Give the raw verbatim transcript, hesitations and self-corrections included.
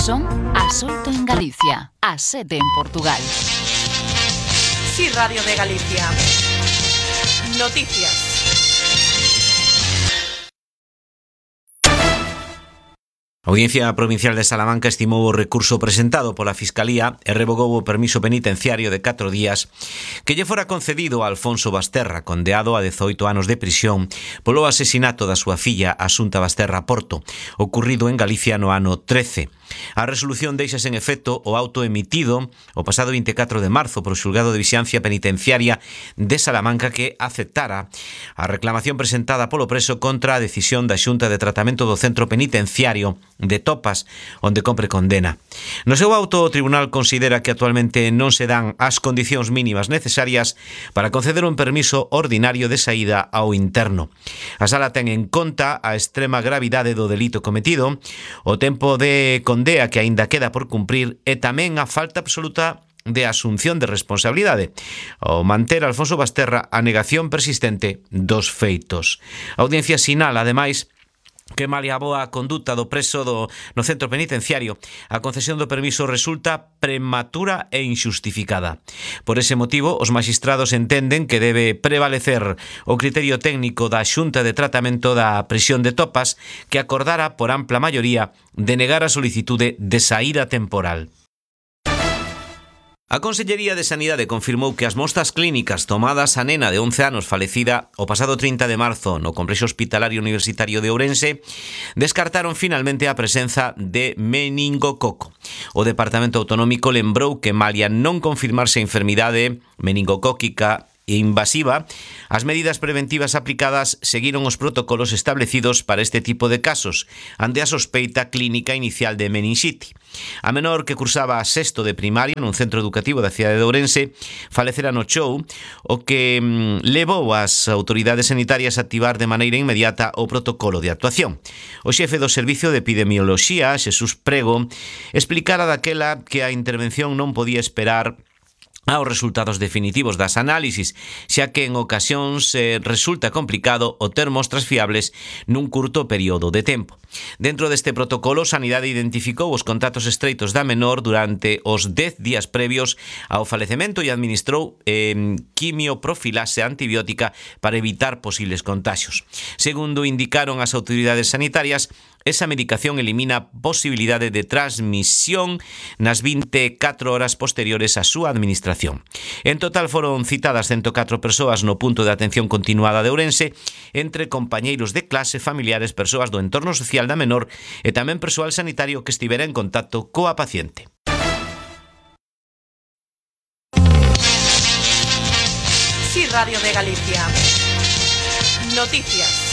Son as oito en Galicia, as sete en Portugal. Sí, Radio de Galicia. Noticias. A Audiencia Provincial de Salamanca estimou o recurso presentado pola Fiscalía e revogou o permiso penitenciario de catro días que lle fora concedido a Alfonso Basterra, condeado a dezoito anos de prisión polo asesinato da súa filla Asunta Basterra Porto, ocurrido en Galicia no ano trece. A resolución deixa sen efecto o auto emitido o pasado vinte e catro de marzo por o Xulgado de Vixiancia Penitenciaria de Salamanca, que aceptara a reclamación presentada polo preso contra a decisión da Xunta de Tratamento do Centro Penitenciario de Topas, onde compre condena. No seu auto, o tribunal considera que actualmente non se dan as condicións mínimas necesarias para conceder un permiso ordinario de saída ao interno. A sala ten en conta a extrema gravidade do delito cometido, o tempo de condea que aínda queda por cumprir e tamén a falta absoluta de asunción de responsabilidade, ao manter Alfonso Basterra a negación persistente dos feitos. A audiencia sinala, ademais, que malia a boa conduta do preso do, no centro penitenciario, a concesión do permiso resulta prematura e inxustificada. Por ese motivo, os maxistrados entenden que debe prevalecer o criterio técnico da Xunta de Tratamento da Prisión de Topas, que acordara por ampla maioría denegar a solicitude de saída temporal. A Consellería de Sanidade confirmou que as mostras clínicas tomadas á nena de once anos falecida o pasado trinta de marzo no Complexo Hospitalario Universitario de Ourense descartaron finalmente a presenza de meningococo. O Departamento Autonómico lembrou que malia non confirmarse a enfermidade meningocóquica e invasiva, as medidas preventivas aplicadas seguiron os protocolos establecidos para este tipo de casos, ante a sospeita clínica inicial de meningite. A menor, que cursaba a sexto de primaria nun centro educativo da cidade de Ourense, falecera no chou, o que mm, levou as autoridades sanitarias a activar de maneira inmediata o protocolo de actuación. O xefe do Servicio de Epidemioloxía, Xesús Prego, explicara daquela que a intervención non podía esperar aos resultados definitivos das análisis, xa que en ocasións eh, resulta complicado obter mostras fiables nun curto período de tempo. Dentro deste protocolo, Sanidade identificou os contactos estreitos da menor durante os dez días previos ao falecemento e administrou eh, quimioprofilase antibiótica para evitar posibles contaxios. Segundo indicaron as autoridades sanitarias, esa medicación elimina posibilidade de transmisión nas vinte e catro horas posteriores á súa administración. En total foron citadas ciento catro persoas no punto de atención continuada de Ourense, entre compañeiros de clase, familiares, persoas do entorno social da menor e tamén persoal sanitario que estivera en contacto coa paciente. Sí, Radio de Galicia. Noticias.